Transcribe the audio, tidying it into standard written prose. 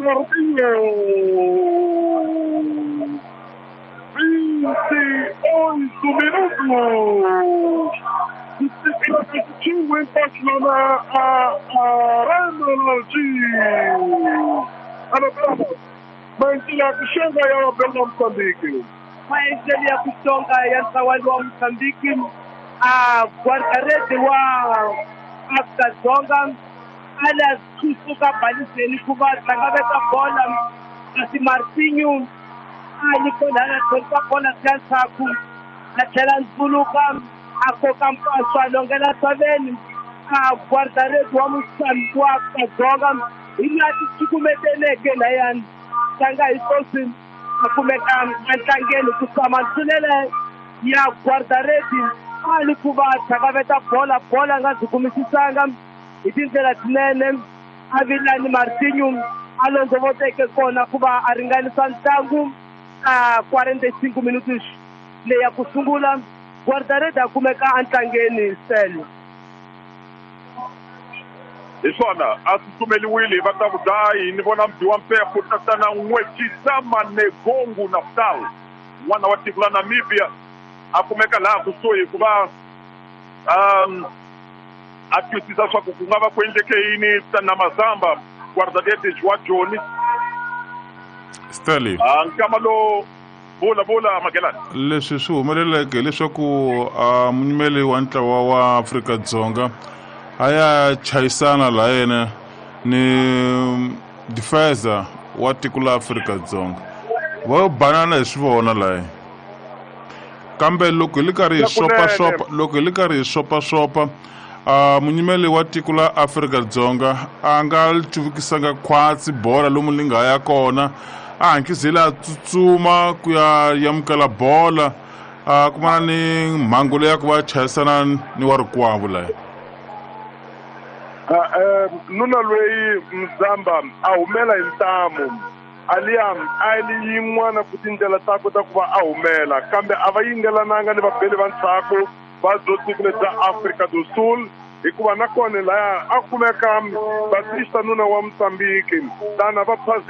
Martinho. 28 minutos. O empate lá na Arena de Alabama. Maendlelo kuxonga ya Bela Mozambique. Maendlelo ya kuxonga ya ntlawa wa Mozambique a guarda-rede wa Afrika-Dzonga a la kusuka baliseni ku va tlangaveta bola kasi Martinho a ni kona a tlherisa bola siya ndzhaku a tlhela ndzuluka a koka mpaso a longela saveni a guarda-rede wa Mozambique wa Afrika-Dzonga hi laha ti cukumeteleke layani tlanga hi swoswi a kumeka entlangeni ku tshama ntlulele ya guarda-rede a ni ku va tlhakaveta bola bola a nga byi kumisisanga hi tindlela tinene a vilani Martinho a londzovoteke kona ku va a ringanisa ntlangu a 45 minutos leyi ya ku sungula guarda-rede a kumeka entlangeni sele. Hi swona a tsutsumeliwile hi vatavudayi ni vona mdyi wa mpepfu tatana N'wetshizama Negongu Naftal n'wana wa tiko la Namibia a kumeka laha kusuhi ku va a twisisa swa ku ku nga va ku endleke yini tana Mazamba guarda-redes wa Joni. Stanley. Nkama lowu vula vula Magelani. Leswi swi humeleleke hileswaku munyimeli wa ntlawa wa Afrika-Dzonga a ya chayisana laha yena ni defensa wa tiko la Afrika-Dzonga va yo banana hi swi vona laha kambe loko hi li karhi hi xopaxopa loko hi li karhi hi xopaxopa munyimeli wa tiko la Afrika-Dzonga a nga cuvukisanga khwatsi bola lomu li nga ya kona a hankizile a tsutsuma ku ya yamukela bola a kumana ni mhangu leyi ya ku va chayisana ni wa rikwavo laha. Nuna loyi Mzamba a humela hi ntamu aliya a li yin'wana ku tindlela takwe ta ku va a humela kambe a va yingelananga ni vabeli va ndzhaku va byo tiko lebya Afrika do Sul hikuva nakona laya a kumeka Batista nuna wa Mozambique tana va phazela.